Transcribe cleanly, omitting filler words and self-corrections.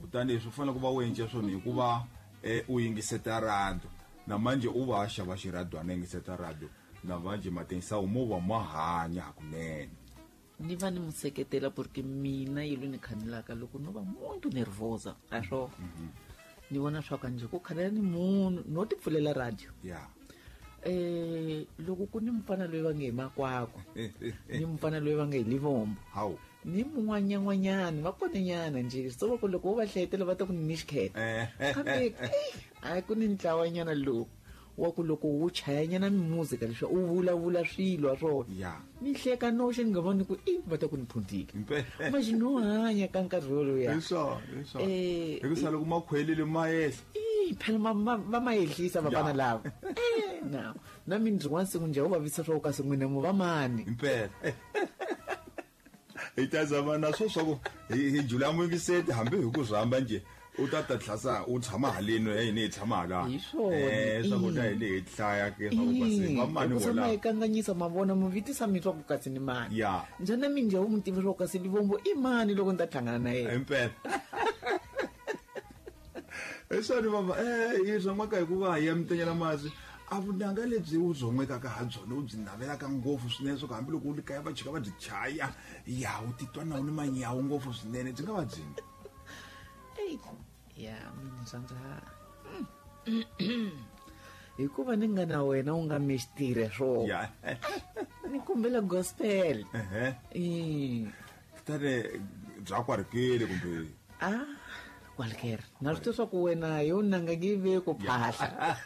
Kutani leswi u fanele ku va u endle swona hikuva u yingiseta radio na manje u va a xava xiradwana yingiseta radio na manje matensawu mo va ma hanya hakunene. Ni va ni mu seketela porque mina yi lo ni khanelaka loko no va muntu nervosa a swo ni vona swa ka njhe ku khanela ni munhu no ti pfulela radio. Loko ku ni mufana loyi va nge hi makwakwa ni mufana loyi va nge hi livombo ni mun'wanyan'wanyani va konenyana njhe so va ku loko wo va hlayetela va ta ku ni xikheta kambe a ku ni ntlawanyana lowu wa ku loko wu chayanyana mimuzika leswi u vulavula swilo swona ni hleka noxe ni nga voni ku i va ta ku ni phundzile manje no hanya ka nkarhi woloya. Hi ku sa loko makhwelile ma yehla. I phela va ma yehlisa vafana lava. Na na mina rin'wana siku njhe u vavisa swa ku kasi n'wina mu va mani. Impela hi ta zama na swo swa ku hi jula muyingiseti hambi hi ku rhamba njhe u ta ta tlhasa u tshama haleni ya hina hi tshama hala. Hi swona. Swakudya hi le hi hlaya ke swa ku kasi va mani vola ma kanganyisa ma vona mu vitisa mi swa ku kasi ni mani. Njhani mi njhe u mu tiva swa ku kasi Livombo i mani loko ni ta hlangana na yena. Impela hi swona mama hi byon'weka hikuva hi ya mitenyela masi a vunanga lebyi u byon'wekaka ha byona u byi navelaka ngopfu swinene swa ku hambiloko u ri kaya va chika va byi chaya ya u titwa na u ni manyawu ngopfu swinene byi nga va byini. Ya mina rhandza hikuva ni nga na wena u nga mixitire swo ni kombela gospel. Kutani bya kwarikile kumbe a kwalkere na swi tiva swa ku wena yo nanga nge ve ku phahla.